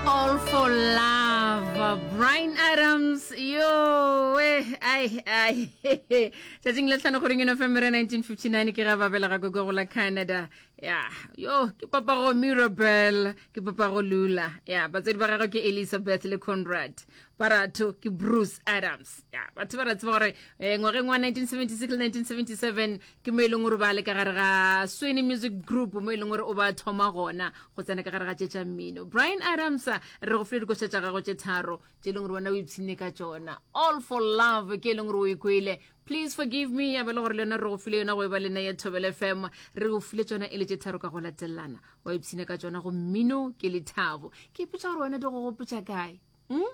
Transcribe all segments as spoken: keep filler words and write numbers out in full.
All for Love, Bryan Adams. Yo, eh, ai, ai. Tšatšing la tlhano kgweding ya November nineteen fifty-nine ke ga ba belega ko go la Canada. Ya, yo, ke papago Mirabel, ke papago Lula. Ya, batswadi ba gagwe ke Elizabeth le Conrad. Baratho ke Bruce Adams. Ya, batho ba ra tseba gore eh, ngwageng wa nineteen seventy-six le nineteen seventy-seven ke mo e leng gore ba le ka gare ga Sweeney Music Group, mo e leng gore o ba thoma gona go tsena ka gare ga tše tša mmino. Bryan Adams, re go file dikoša tša gago tše tharo tše e leng gore wena o ipshinne ka tšona. All for Love ke e leng gore o e kwele, Please Forgive Me ya be le gore le yona re go file yona go e ba lena ya Thobela F M. Re go file tšona e le tše tharo ka go latelana, wa ipshina ka tšona. Go mmino ke lethabo. Ke ipotša gore wena di go gopotša kae, hmm?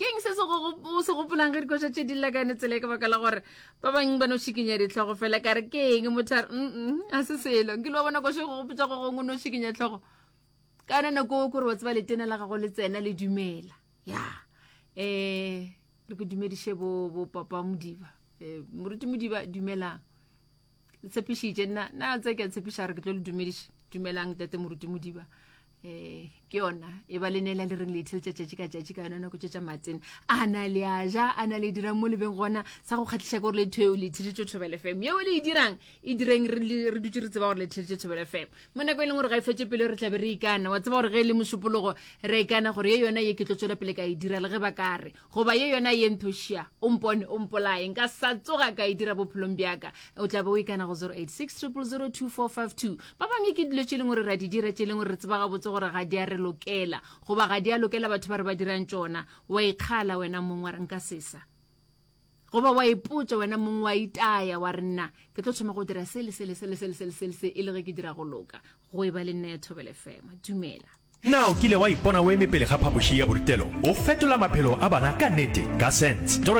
Ke eng se se go- o se gopolang ge dikoša tše di lla ka yone tsela e? Ka baka la gore ba bangwe ba no šikinya ditlhogo fela, ka re ke eng motho a re mm a se selo. Nkile wa bona koša e go gopotša go gongwe, o no šikinya tlhogo ka yone nako o, kore wa tseba letena la gago le tsena le dumela. Ya, um re ke dumediše bo bo papa Modiba, um moruti Modiba, dumelang. Le tshepišitše nna, nna tse ke a tshepiša gore ke tlo le dumediša. Dumelang tate moruti Modiba. um ke yona e ba le neela le reng le itheletša tšatši ka tšatši ka yona nako tše tša matsene. A na le a ja, a na le dirang mo lebeng gona sa go kgatlhiša ke gore le theo le itheletše Thobela F M. Yeo le e dirang, e direng re le- re dutse re tseba gore le theletše Thobela F M mo nako e leng gore ga e fetse pele. Re tlabe re ikana, wa tseba gore ge e le Mošupologo re ikana gore ye yona ye ke tlo tswela pele ka e dira le ge ba ka re, goba ye yona ye nthošia o mpone o mpolaye, nka sa tsoga ka e dira bophelong bjaka. O tla be o ikana go zero eight six zero zero two four five two. Ba bangwe ke dilo tše e leng gore ra di dira, tše e leng gore re tseba gabotse gore ga di a re lokela goba ga di a lokela batho ba re ba dirang tšona. Wa ikgala wena mong wa re nka sesa, goba wa ipotša wena mong, wa itaya wa re nna ke tlo thoma go dira se le se le se le se le se le se le se e le ge ke dira go loka. Go e ba le nna ya Thobela F M. Dumela. Na o kile wa ipona o eme pele ga phapoši ya borutelo o fetola maphelo a bana ka nnete ka sense? Toro